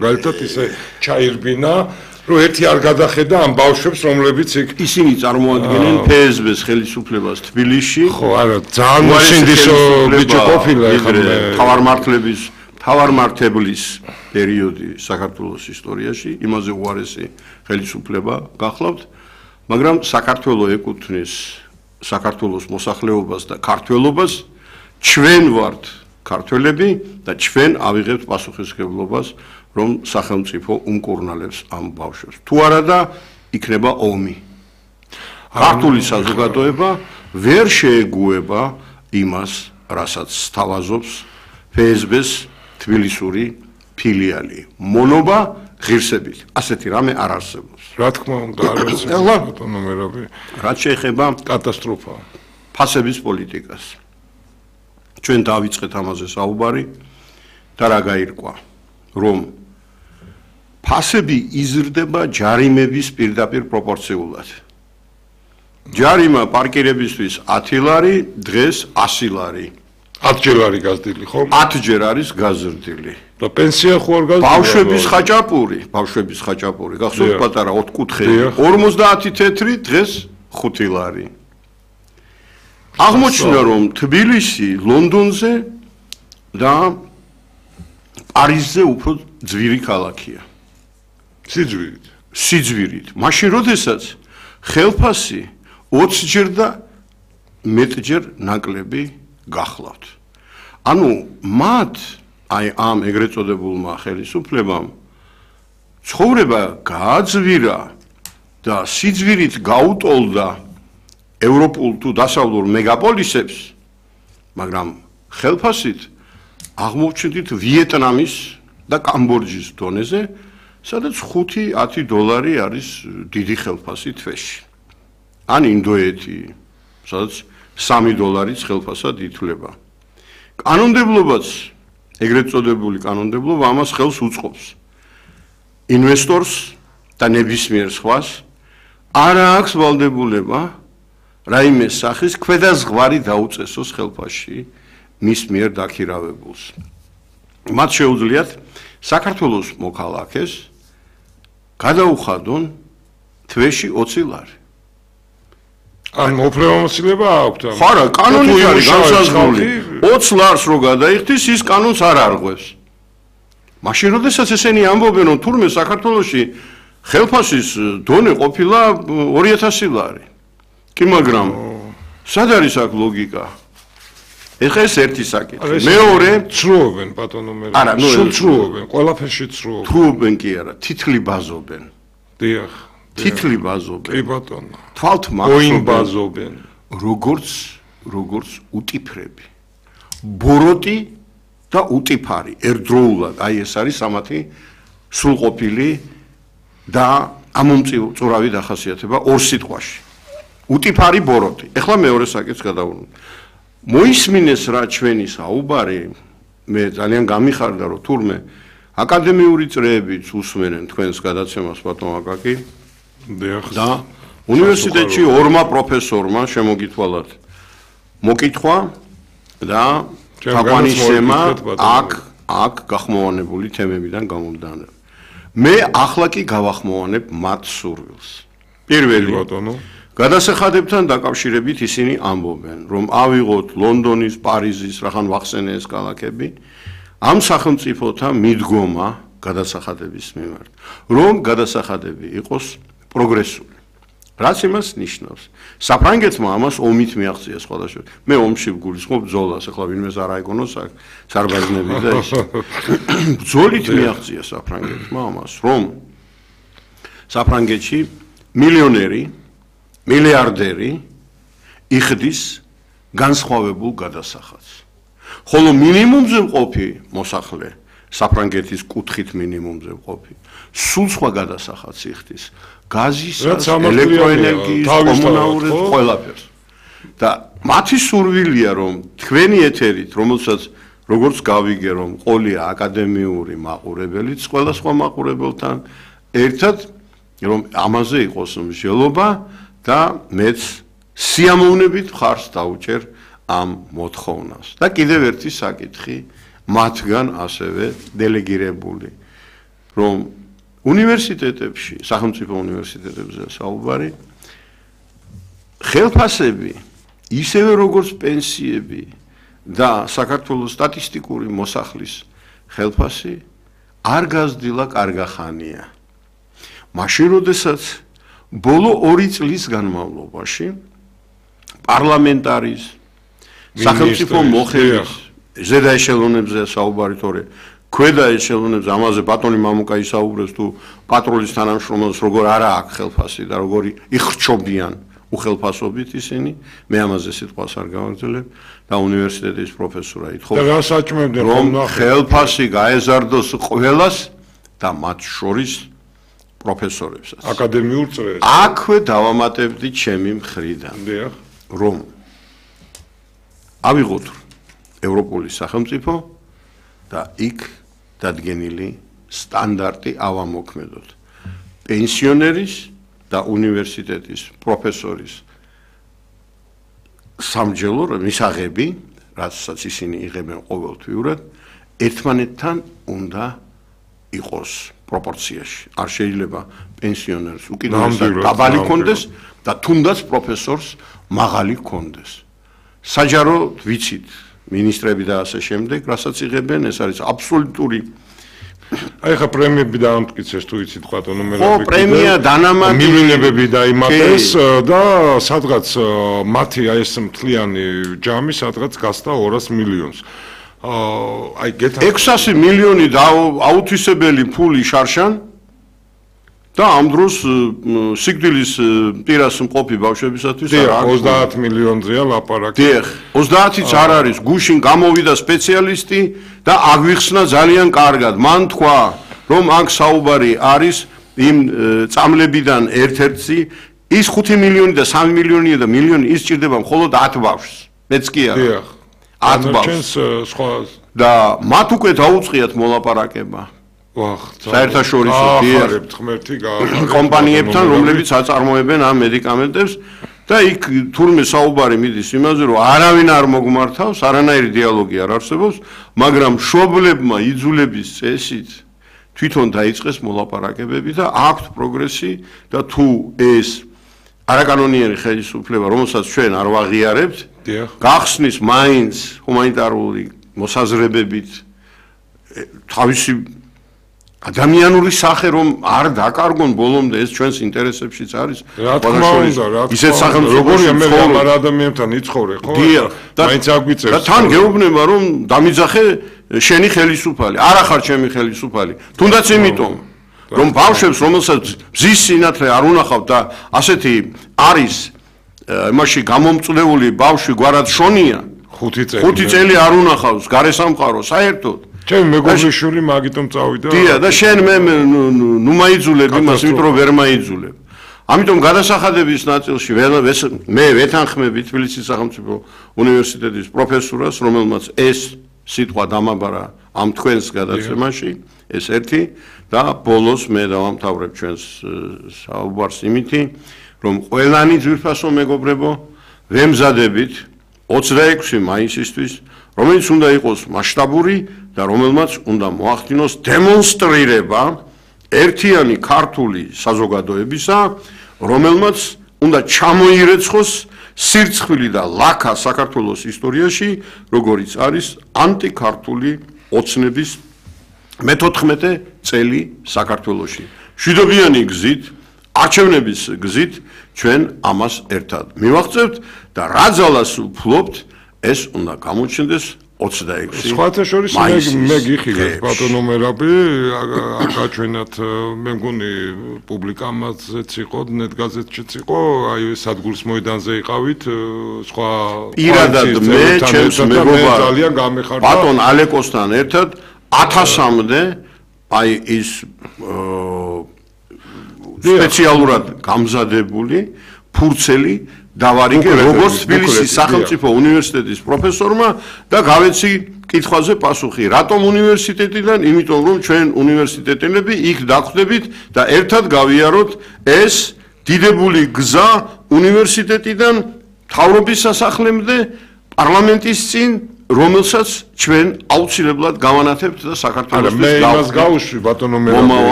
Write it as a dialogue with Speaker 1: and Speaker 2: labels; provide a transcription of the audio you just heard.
Speaker 1: მაგალითად ისე ჩაირბინა რომ ერთი არ გადახედა ამ ბავშვებს რომლებიც იქ
Speaker 2: ისინი წარმოადგენენ ფსბ-ს ხელისუფლებას თბილისში
Speaker 1: ხო არა ძალიან მოსინდისო ბიჭი ყოფილა
Speaker 2: ეხლა თავარმართებლის პერიოდი საქართველოს ისტორიაში იმაზე უარესი ხელისუფლება გახლავთ მაგრამ საქართველოს ეკუთვნის საქართველოს მოსახლეობას და ქართველობას ჩვენ ვართ ქართველები და ჩვენ ავიღებთ პასუხისმგებლობას რომ სახელმწიფო უმკურნალებს ამ ბავშვებს თუ არა და იქნება ომი ქართული საზოგადოება ვერ შეეგუება იმას რასაც სთავაზობს ფსბ-ს თბილისური ფილიალი მონობა ღირსებით ასეთი რამე არ არსებობს
Speaker 1: რა თქმა უნდა არ არსებობს ბატონო მერაბი
Speaker 2: რაც შეეხება
Speaker 1: კატასტროფა
Speaker 2: ფასების პოლიტიკას ჩვენ დავიწყეთ ამაზე საუბარი და რა გაირკვა რომ ფასები იზრდება ჯარიმების პირდაპირ პროპორციულად ჯარიმა პარკირებისთვის 10 ლარი დღეს 100 ლარი
Speaker 1: 10 ჯერ არის გაზრდილი ხო
Speaker 2: 10 ჯერ არის გაზრდილი
Speaker 1: და პენსია ხო არ გაზრდილი
Speaker 2: ბავშვების ხაჭაპური გახსოვთ პატარა 4 კუთხე 50 თეთრი დღეს 5 ლარი აღმოჩნდა რომ თბილისი ლონდონზე და პარიზზე უფრო ძვირი ქალაქია სიძვირით მაშინ როდესაც ხელფასი 20 ჯერ და მეტჯერ ნაკლები გახლავთ ანუ მათ აი ამ ეგრეთ წოდებულმა ხელისუფლებამ ცხოვრება გააძვირა და სიძვირით გაუტოლდა ევროპულ თუ დასავლურ მეგაპოლისებს მაგრამ ხელფასით აღმოჩნდით ვიეტნამის და კამბოჯის დონეზე სადაც 5-10 დოლარი არის დიდი ხელფასი თვეში ან ინდოეთი სადაც 3 დოლარიც ხელფასად ითვლება კანონმდებლობაც ეგრეთ წოდებული კანონმდებლობა ამას ხელს უწყობს ინვესტორს და ნებისმიერ სხვას არ აქვს ვალდებულება რაიმე სახის ქვედაზღვარი დაუწესოს ხელფასში მის მიერ დაქირავებულს მათ შეუძლიათ საქართველოს მოქალაქეს გადაუხადონ თვეში 20 ლარი
Speaker 1: ან უფლებამოსილება აქვთ
Speaker 2: ხო რა კანონით არის განსაზღვრული 20 ლარს რო გადაიხდის ის კანონს არ არღვევს მაშინ როდესაც ესენი ამბობენ რომ თურმე საქართველოში ხელფასის დონე ყოფილა 2000 ლარი კი მაგრამ სად არის აქ ლოგიკა ეხლა ეს ერთი საკითხი მეორე
Speaker 1: ცრუობენ ბატონო მე
Speaker 2: არა ნუ
Speaker 1: ცრუობენ ყველაფერში ცრუობენ
Speaker 2: ცრუობენ კი არა თითლი ბაზობენ
Speaker 1: დიახ
Speaker 2: თითლი ბაზობენ
Speaker 1: კი ბატონო
Speaker 2: თვალთ
Speaker 1: ბაზობენ
Speaker 2: როგორც უტიფრები ბოროტი და უტიფარი ერთდროულად აი ეს არის სამათი სრულყოფილი და ამომწურავი დახასიათება ორ სიტყვაში უტიფარი ბოროტი ეხლა მეორე საკითხს გადავუნ მოისმინეს რა ჩვენი საუბარი მე ძალიან გამიხარდა რომ თურმე აკადემიური წრეებიც უსმენენ თქვენს გადაცემას ბატონ აკაკი და უნივერსიტეტში ორმა პროფესორმა შემოგითვალათ მოკითხვა და თაყვანისცემა აქ გახმოვანებული თემებიდან გამომდინარე მე ახლა კი გავახმოვანებ მათ სურვილს პირველი
Speaker 1: ბატონო
Speaker 2: გადასახადებთან დაკავშირებით ისინი ამბობენ რომ ავიღოთ ლონდონის პარიზის რახან ვახსენე ეს ქალაქები ამ სახელმწიფოთა მიდგომა გადასახადების მიმართ რომ გადასახადები იყოს პროგრესული რაც იმას ნიშნავს საფრანგეთმა ამას ომით მიაღწია სხვადასხვა მე ომში ვგულისხმობ ბრძოლას ახლა ვინმეს არ აიგონოს აქ სარბაზნები და ის ბრძოლით მიაღწია საფრანგეთმა ამას რომ საფრანგეთში მილიონერი მილიარდერი იხდის განსხვავებულ გადასახადს ხოლო მინიმუმზე მყოფი მოსახლე საფრანგეთის კუთხით მინიმუმზე მყოფი სულ სხვა გადასახადს იხდის გაზისას ელექტროენერგიის კომუნალურ ყველაფერს და მათი სურვილია რომ თქვენი ეთერით რომელსაც როგორც გავიგე რომ ყოლია აკადემიური მაყურებელიც ყველა სხვა მაყურებელთან ერთად რომ ამაზე იყოს მსჯელობა და მეც სიამოვნებით ხარს დაუჭერ ამ მოთხოვნას და კიდევ ერთი საკითხი მათგან ასევე დელეგირებული რომ უნივერსიტეტებში, სახელმწიფო უნივერსიტეტებზე საუბარი ხელფასები, ისევე როგორც პენსიები და საქართველოს სტატისტიკური მოსახლის ხელფასი არ გაზრდილა კარგახანია. მაშინ, როდესაც ბოლო 2 წლის განმავლობაში პარლამენტარის სახელმწიფო მოხელის ზედა ეშელონებზე საუბარი თორე ქვედა ეშელონებზე ამაზე ბატონი მამუკა ისაუბრებს თუ პატროლის თანამშრომლებს როგორ არა აქვს ხელფასი და როგორი იხრჩობიან უხელფასობით ისინი მე ამაზე სიტყვას არ გავაგრძელებ და უნივერსიტეტის პროფესორა ითხოვს რომ ხელფასი გაეზარდოს ყველას და მათ შორის პროფესორებსაც
Speaker 1: აკადემიურ წრეს
Speaker 2: აქვე დავამატებდი ჩემი მხრიდან რომ ავიღოთ ევროპული სახელმწიფო და იქ დადგენილი სტანდარტი ავამოქმედოთ პენსიონერის და უნივერსიტეტის პროფესორის სამჯელო მისაღები, რასაც ისინი იღებენ ყოველთვიურად, ერთმანეთთან უნდა იყოს პროპორციაში. არ შეიძლება პენსიონერს უკიდურესად დაბალი კონდეს და თუნდაც პროფესორს მაღალი კონდეს. საჯაროდ ვიცით მინისტრები და ასე შემდეგ, რასაც იღებენ, ეს არის აბსოლუტური
Speaker 1: აი ხა პრემიები დაამტკიცეს თუ იცით ბატონო მელები.
Speaker 2: ხო, პრემია დანამატი
Speaker 1: მილიონები დაიმატეს და სადღაც მათი აი ეს მთლიანი ჯამი სადღაც გასდა 200 მილიონს. აი გეთა
Speaker 2: 600 მილიონი აუთვისებელი ფული შარშან და ამ დროს სიკვდილის პირას მყოფი ბავშვებისათვის
Speaker 1: არა 30 მილიონზეა ლაპარაკი.
Speaker 2: დიახ, 30-იც არ არის, გუშინ გამოვიდა სპეციალისტი და აგვიხსნა ძალიან კარგად. მან თქვა, რომ აქ საუბარი არის იმ წამლებიდან ერთ-ერთში, ის 5 მილიონი და 3 მილიონია და მილიონი ის ჭირდება მხოლოდ 10 ბავშვს. მეც კი არა.
Speaker 1: დიახ.
Speaker 2: 10 ბავშვს. და მათ უკვე დაუწყიათ მოლაპარაკება. საერთაშორისო კომპანიებთან, რომლებიც აწარმოებენ ამ მედიკამენტებს და იქ თურმე საუბარი მიდის იმაზე, რომ არავინ არ მოგმართავს, არანაირი დიალოგი არ არსებობს, მაგრამ მშობლებმა იძულების წესით თვითონ დაიწყეს მოლაპარაკებები და აქვთ პროგრესი და თუ ეს არაკანონიერი ხელისუფლება, რომელსაც ჩვენ არ ვაღიარებთ, გახსნის მაინც ჰუმანიტარული მოსაზრებებით თავისი ადამიანური სახე რომ არ დაკარგონ ბოლომდე ეს ჩვენს ინტერესებშიც არის.
Speaker 1: რა თქმა უნდა,
Speaker 2: ისეთ სახელმწიფოში
Speaker 1: როგორია მე ამ ადამიანთან იცხოვრე, ხო? მაინც აგვიწევს.
Speaker 2: და თან გეუბნება რომ დამიძახე შენი ხელისუფალი, არა ხარ ჩემი ხელისუფალი. თუნდაც იმიტომ რომ ბავშვებს რომელსაც მზის სინათლე არ უნახავთ და ასეთი არის იმაში გამომწვეული ბავშვი გვარად შონია 5 წელი არ უნახავს გარესამყარო საერთოდ
Speaker 1: ჩემი მეგობრიშვილი მაგიტომ წავიდა.
Speaker 2: დიახ, და შენ მე ნუ მაიძულებ იმას, იმიტომ რომ ვერ მაიძულებ. ამიტომ გადასახადების ნაწილში მე ვეთანხმები თბილისის სახელმწიფო უნივერსიტეტის პროფესორას, რომელმაც ეს სიტყვა დამაბარა ამ თქვენს გადაცემაში, ეს ერთი და ბოლოს მე დავამთავრებ ჩვენს საუბარს იმითი, რომ ყველანი ძვირფასო მეგობრებო, ვემზადებით 26 მაისისთვის, რომელიც უნდა იყოს მასშტაბური და რომელმაც უნდა მოახდინოს დემონსტრირება ერთიანი ქართული საზოგადოებისა, რომელმაც უნდა ჩამოირეცხოს სირცხვილი და ლაქა საქართველოს ისტორიაში, როგორიც არის ანტიქართული ოცნების მე-14 წელი საქართველოში. მშვიდობიანი გზით, არჩევნების გზით ჩვენ ამას ერთად მივაღწევთ და რა ძალას ვფლობთ, ეს უნდა გამოჩნდეს 26
Speaker 1: სხვათა შორის მე გიხილეთ ბატონო მერაბი აკაჩვენათ მე მგონი პუბლიკამაზეც იყო ნეტგაზეთშიც იყო აი სადგურის მოედანზე იყავით სხვა
Speaker 2: პირადად მე ჩემს მეგობარ
Speaker 1: ძალიან გამეხარდა
Speaker 2: ბატონ ალეკოსთან ერთად 1000-მდე აი ის სპეციალურად გამზადებული ფურცელი დავარიგე როგორც თბილისის სახელმწიფო უნივერსიტეტის პროფესორმა და გავეცი კითხვაზე პასუხი რატომ უნივერსიტეტიდან იმიტომ რომ ჩვენ უნივერსიტეტელები იქ დახვდებით და ერთად გავიაროთ ეს დიდებული გზა უნივერსიტეტიდან მთავრობის სასახლემდე პარლამენტის წინ რომელსაც ჩვენ აუცილებლად გავანათებთ და საქართველოს
Speaker 1: მე იმას გავუშვი ბატონო მერაბი